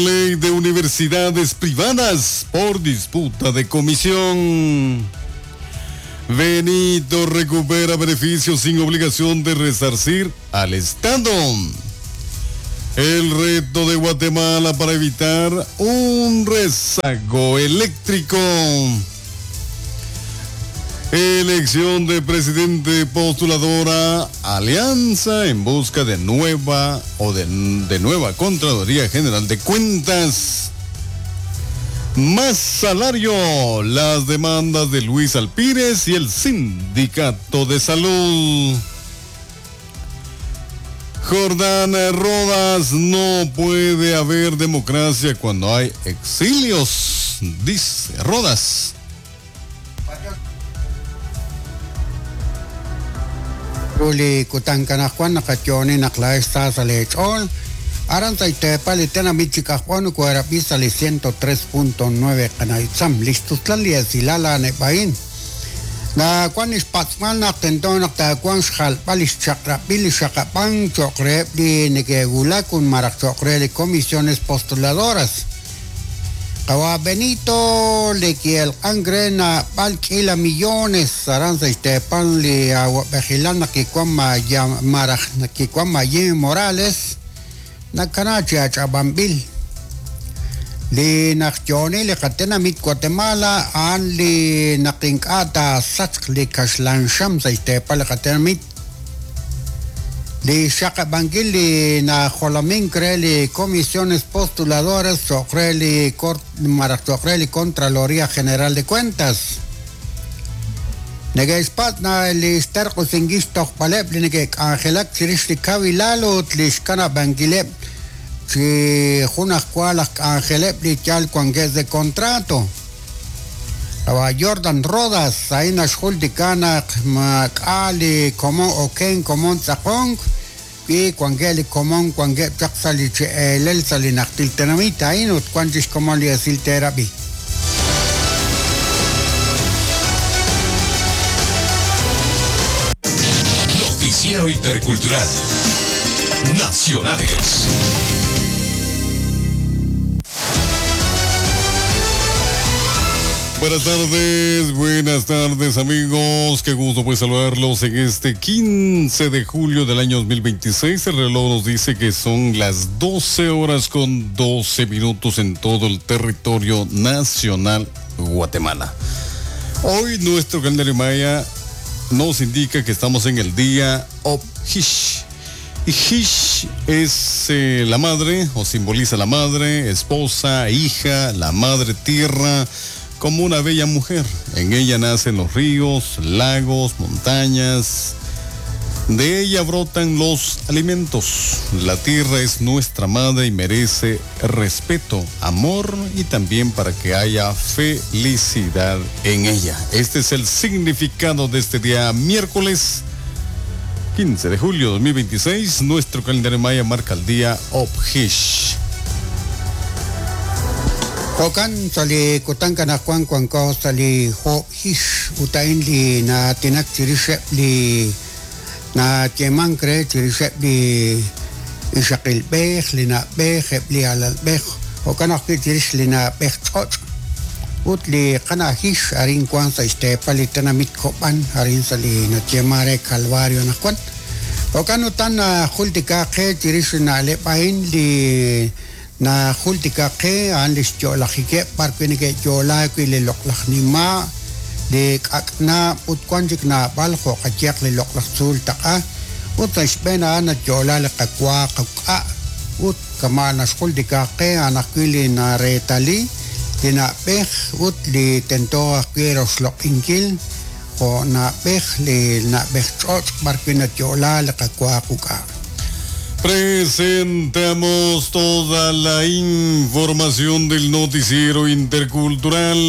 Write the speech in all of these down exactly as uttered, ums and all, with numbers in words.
Ley de universidades privadas por disputa de comisión. Benito recupera beneficios sin obligación de resarcir al Estado. El reto de Guatemala para evitar un rezago eléctrico. Elección de presidente postuladora Alianza en busca de nueva o de, de nueva Contraloría General de Cuentas. Más salario, las demandas de Luis Alpírez y el Sindicato de Salud. Jordán Rodas, no puede haber democracia cuando hay exilios, dice Rodas. Ruli kutankanajwan naqatyoni naqla esta salech'ol aran saytepa li tenamit chikajwan kuerab'i sali ciento tres punto nueve qanaitzam lixtustlal li esilal aneb'ain na kwan ixpatz'mal naq tento naq takuan xjalb'al ixchaqrab'il ixaqab'an choqreb li nekewulak un maraj choqre li comisiones postuladoras. Qawa Benito le kielq'an na b'al k'ila millones aran sa ixtepan li awab'ejilan naq kikuan maraj naq kikuan Mayim Morales nakana chi ach'ab'anb'il li naq yoni li qatenamit Guatemala an li naq ink'a' sachq li kaxlanxam sa ixtepan li qatenamit li xaqab'ankil li najolomin kre li comisiones postuladoras choqre li maraj choqre li Contraloría General de Cuentas. Nege'xpatz' na li xterq'usinkil xtojb'aleb' li neke'k'anjelak chirix li kawilal ut li xkanab'ankileb' chi jun ajwal aj k'anjeleb' li yal wankeb' de contrato. Awa Jordan Rodas, ahí naxjultika naq mak'a li komon oken komon tz'aqonk y wankeb' li komon wankeb' chaq sa li che'elel sa li najtil tenamit ahin ut wan chix komon li esil terab'i. Noticiero Intercultural Nacionales. Buenas tardes, buenas tardes amigos, qué gusto pues saludarlos en este quince de julio del año dos mil veintiséis. El reloj nos dice que son las doce horas con doce minutos en todo el territorio nacional Guatemala. Hoy nuestro calendario maya nos indica que estamos en el día Objish. Y Hish es eh, la madre, o simboliza la madre, esposa, hija, la madre tierra, como una bella mujer. En ella nacen los ríos, lagos, montañas. De ella brotan los alimentos. La tierra es nuestra madre y merece respeto, amor y también para que haya felicidad en ella. Este es el significado de este día miércoles quince de julio de dos mil veintiséis. Nuestro calendario maya marca el día Objish. Jokan sali kutanka na Juan kuanko sali ho hish utain li na tinak chirishep li na yeman kre chirishep li ishaqil bej li na bej li alal bej jokan ajwi' chirix li na bej ch'och' ut li qana hish arin kuan sa ixtepa li tenamit kob'an arin sa li na yemare Calvario na Juan jokan utan na jultika qe chirix na'leb' ain li na jultika qe an li xyo'lajikeb' parwi neke'yo'laak wi' li loq'laj nima' li k'ak'na' ut wan chik nab'al jo' qayaq li loq'laj tzuul taq'a ut sa' xb'een a'an nayo'la li qawa qak'a' ut kama' naxjultika qe a'an ajwi' li nareetali li na'b'ej ut li tento ajwi' roxloq'inkil jo' na'b'ej li na'b'ej ch'och' b'arwi' nayo'la li qawa quk'a'. Presentamos toda la información del noticiero intercultural.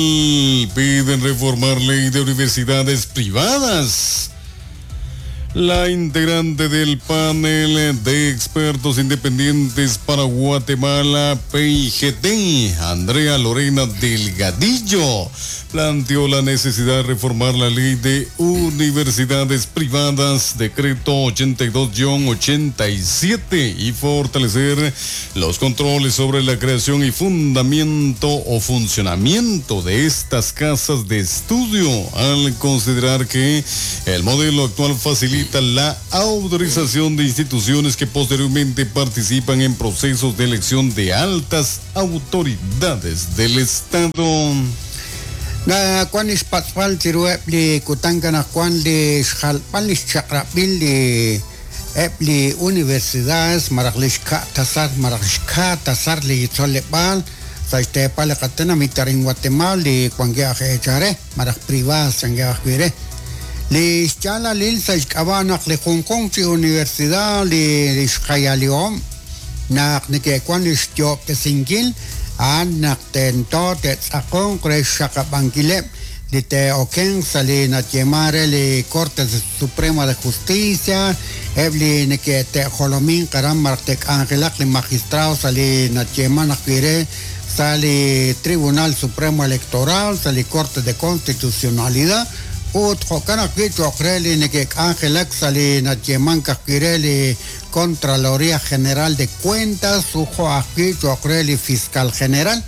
Piden reformar ley de universidades privadas. La integrante del panel de expertos independientes para Guatemala, P I G T, Andrea Lorena Delgadillo, planteó la necesidad de reformar la ley de universidades privadas, decreto ochenta y dos guion ochenta y siete, y fortalecer los controles sobre la creación y fundamento o funcionamiento de estas casas de estudio, al considerar que el modelo actual facilita la autorización de instituciones que posteriormente participan en procesos de elección de altas autoridades del Estado. Na kwan ispatzpal chirueb li kutanka na kwan li xjalpal li xchaqrapil li eb li universidades maraqlishka tasar maraqlishka tasar li tzolepal saistepal qatena mitarin Guatemala li kwangueaj echare maraq privadas changueaj vire li xchala lil saixkabanaq li Hong Kong chi universidad li xjayaliom naq neke kwan li xtiob tesinkil an naq tento tetzakon krexakabankileb li te oken sali natyemare li Corte Suprema de Justicia ebli neke te jolomin karam martek angelak li magistrado sali natyeman akire sali Tribunal Supremo Electoral sali Corte de Constitucionalidad ut jokan akwi chokreli neke angelak sali natyeman kakireli Contraloría General de Cuentas, ujo akwi chokreli Fiscal General.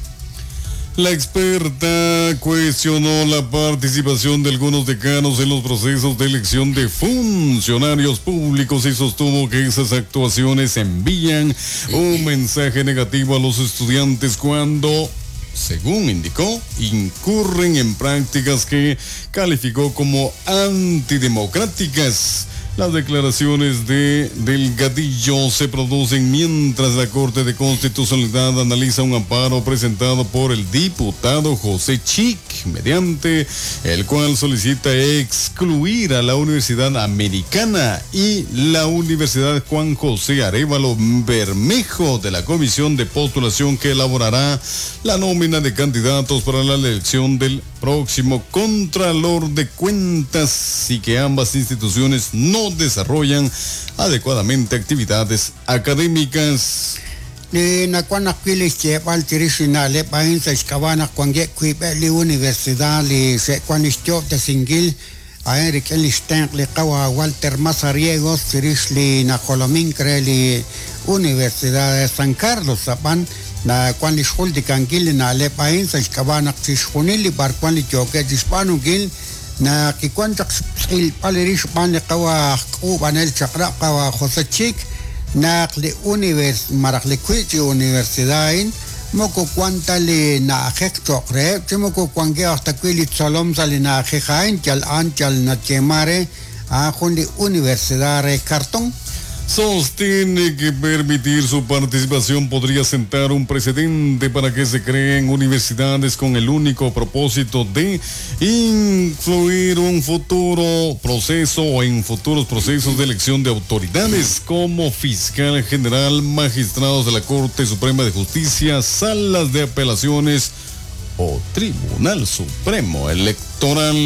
La experta cuestionó la participación de algunos decanos en los procesos de elección de funcionarios públicos y sostuvo que esas actuaciones envían un mensaje negativo a los estudiantes cuando, según indicó, incurren en prácticas que calificó como antidemocráticas. Las declaraciones de Delgadillo se producen mientras la Corte de Constitucionalidad analiza un amparo presentado por el diputado José Chic, mediante el cual solicita excluir a la Universidad Americana y la Universidad Juan José Arévalo Bermejo de la comisión de postulación que elaborará la nómina de candidatos para la elección del próximo Contralor de Cuentas, y que ambas instituciones no desarrollan adecuadamente actividades académicas. Li nakuan akwilis chebal chirishina le pain sa xkabana kuangue kuibe li universidad li se kuan de singil a Eric Elisten li kawa Walter Mazariegos chirish li najolomin cre li Universidad de San Carlos apan na kuan li xuldi kankil na le pain sa xkabana chishjunil li barkuan li choque chispanugil na kikuan chaq il palerish pan li qawa k'ubanel chaqra qawa José Chic naq li univers maraq li kwi universidad in moko cuanta li na'ajej choqreb chi moko kuanke hasta kwi li tzolom sa li na'ajej ain chal an chal nachemare a jun li universidad re cartón. Sostiene que permitir su participación podría sentar un precedente para que se creen universidades con el único propósito de influir un futuro proceso o en futuros procesos de elección de autoridades como fiscal general, magistrados de la Corte Suprema de Justicia, salas de apelaciones o Tribunal Supremo Electoral.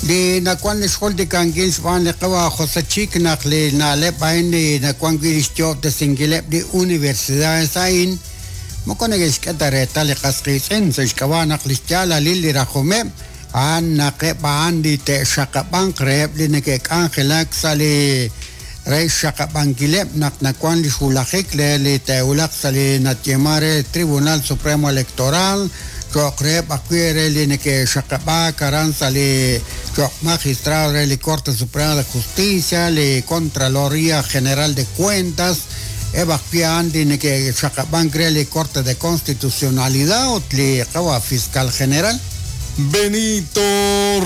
Li nakuan li xjol kankil xb'aan li qawa José Chic naq li na'leb' ain li nakuan wi li xtiob de singileb' li universidades ain moko neke'xk'e reetal li qasqiitz'in sa xk'ab'a naq li xyaalalil li rajomeb' a'an naqeb' a'an li te'xaqab'anq reheb' li neke'k'anjelak sa li re xaqab'ankileb' naq nakuan li xwulajik le li te'wulaq sa li natyema re Tribunal Supremo Electoral choqreb akwi re li neke'xaqab'a karan sa li choq magistrado re li Corte Suprema de Justicia li Contraloría General de Cuentas eb akwi a'an li neke'xaqab'ank re li Corte de Constitucionalidad ut li qawa Fiscal General. Benito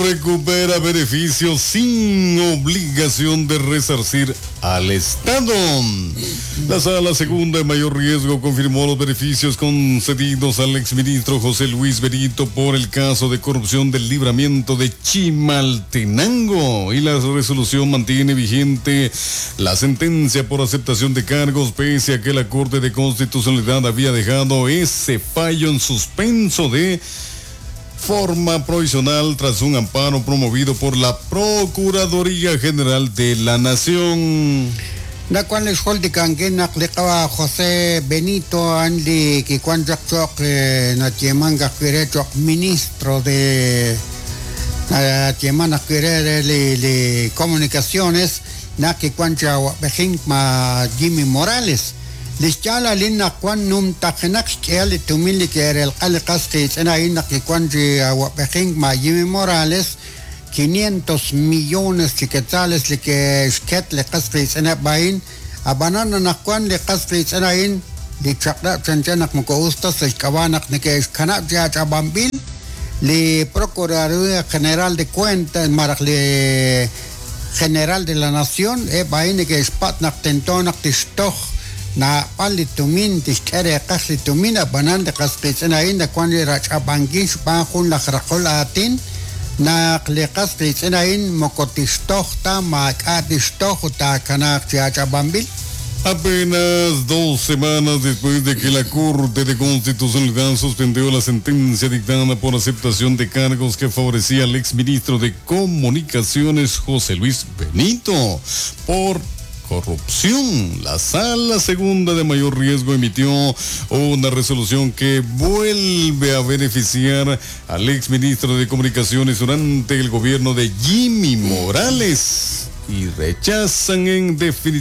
recupera beneficios sin obligación de resarcir al Estado. La sala segunda de mayor riesgo confirmó los beneficios concedidos al exministro José Luis Benito por el caso de corrupción del libramiento de Chimaltenango, y la resolución mantiene vigente la sentencia por aceptación de cargos, pese a que la Corte de Constitucionalidad había dejado ese fallo en suspenso de forma provisional tras un amparo promovido por la Procuraduría General de la Nación. Nakuan li xjultikankil naq li qawa' José Benito a'an li kiwan chaq cho'q natyeemank ajwi' re cho'q ministro de natyeeman ajwi' re re li li comunicaciones naq kiwan chi awab'ejink ma Jimmy Morales li xyaalalil naq wan numtajenaq xk'ehal li tumin li ke'relq'a li qas qiitz'in a'in naq kiwan chi awab'ejink ma Jimmy Morales quinientos millones chi quetzales li ke'xket li qas qiitz'ineb' a'in ab'anan anaqwan li qas qiitz'in a'in li chaq'rab' chanchan naq moko us ta sa' xk'ab'a' naq neke'xkanab' chi ach'ab'anb'il li Procuraduría General de Cuentas malaj li General de la Nación eb' a'in neke'xpat' naq tento naq tixtoj naab'al li tumin tixk'e reeqaj li tumin ab'anan li qas qiitz'in a'in nawan li rach'ab'ankil xb'aan jun laj raqol aatin naq li qas qiitz'in a'in moko tixtoj ta maak'a' tixtoj ut taakanaaq chi ach'ab'anb'il. Apenas dos semanas después de que la Corte de Constitucionalidad suspendió la sentencia dictada por aceptación de cargos que favorecía al exministro de Comunicaciones José Luis Benito por corrupción. La Sala Segunda de Mayor Riesgo emitió una resolución que vuelve a beneficiar al exministro de Comunicaciones durante el gobierno de Jimmy Morales y rechazan en definitiva